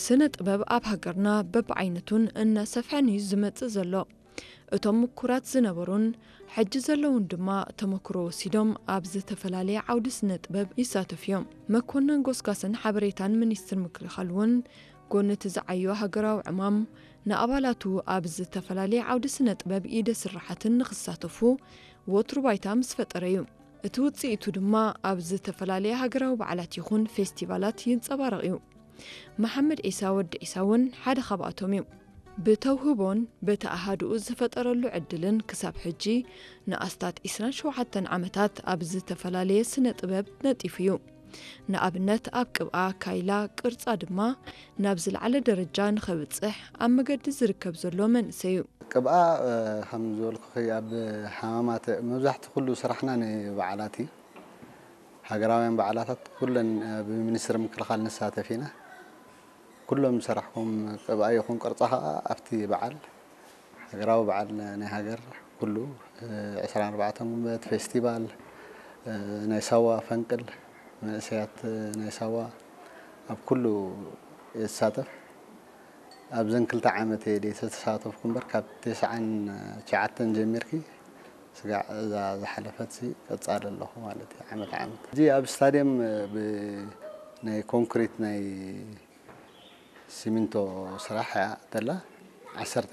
ስነ ጥበብ ኣብ ሃገርና በብዓይነቱን እናሰፍሐን እዩ ዝመጽእ ዘሎ። እቶም ምኩራት ዝነበሩን ሕጂ ዘለውን ድማ ተመክሮ ወሲዶም ኣብ ዝተፈላለየ ዓውዲ ስነ ጥበብ ይሳተፉ እዮም። መኮነን ጎስጓስን ሓበሬታን ሚኒስትር ምክልኻል እውን፣ ጎኒ እቲ ዝዓዮ ሃገራዊ ዕማም፣ ንኣባላቱ ኣብ ዝተፈላለየ ዓውዲ ስነ ጥበብ ኢደ ስራሓትን ንኽሳተፉ ወትሩ ባይታ ምስ ፈጠረ እዩ። እቲ ውጽኢቱ ድማ ኣብ ዝተፈላለየ ሃገራዊ በዓላት ይኹን ፌስቲቫላት ይንጸባረቕ እዩ። መሓመድ ዒሳ ወዲ ዒሳ እውን ሓደ ካብኣቶም እዩ። ብተውህቦን በቲ ኣሃዱኡ ዝፈጠረሉ ዕድልን ክሳብ ሕጂ ንኣስታት ዕስራን ሸውዓተን ዓመታት ኣብ ዝተፈላለየ ስነ ጥበብ ነጢፉ እዩ። ንኣብነት ኣብ ቅብኣ ካይላ ቅርጻ ድማ ናብ ዝለዓለ ደረጃ ንኸብጽሕ ኣብ መገዲ ዝርከብ ዘሎ መንእሰይ እዩ። ቅብኣ ከም ዝበልኩኺ ኣብ ሓማማት መብዛሕቲ ኩሉ ስራሕና ንበዓላት እዩ። ሃገራውያን በዓላታት ኩለን ብሚኒስትሪ ምክልኻል ንሳተፍ ኢና። ኩሎም ዝሰራሕኩም ቅብኣ ይኹን ቅርጻ ኸኣ ኣብቲ በዓል፣ ሃገራዊ በዓል ናይ ሃገር ኩሉ፣ ዕስራን ኣርባዕተን ጉንበት ፌስቲቫል፣ ናይ ሳዋ ፈንቅል፣ መንእሰያት ናይ ሳዋ ኣብ ኩሉ እየ ዝሳተፍ። ኣብዘን ክልተ ዓመት እየ ዘይተሳተፍኩ እምበር፣ ካብ ተስዓን ትሽዓተን ጀሚርኪ ስጋዕ እዛ ዝሓለፈት ሲ ቀጻሊ ኣለኹ ማለት እዩ፣ ዓመት ዓመት። እዚ ኣብ ስታድየም ብ-፣ ናይ ኮንክሪት ናይ ሲሚንቶ ስራሕ እያ ተላ፣ ዓሰርተ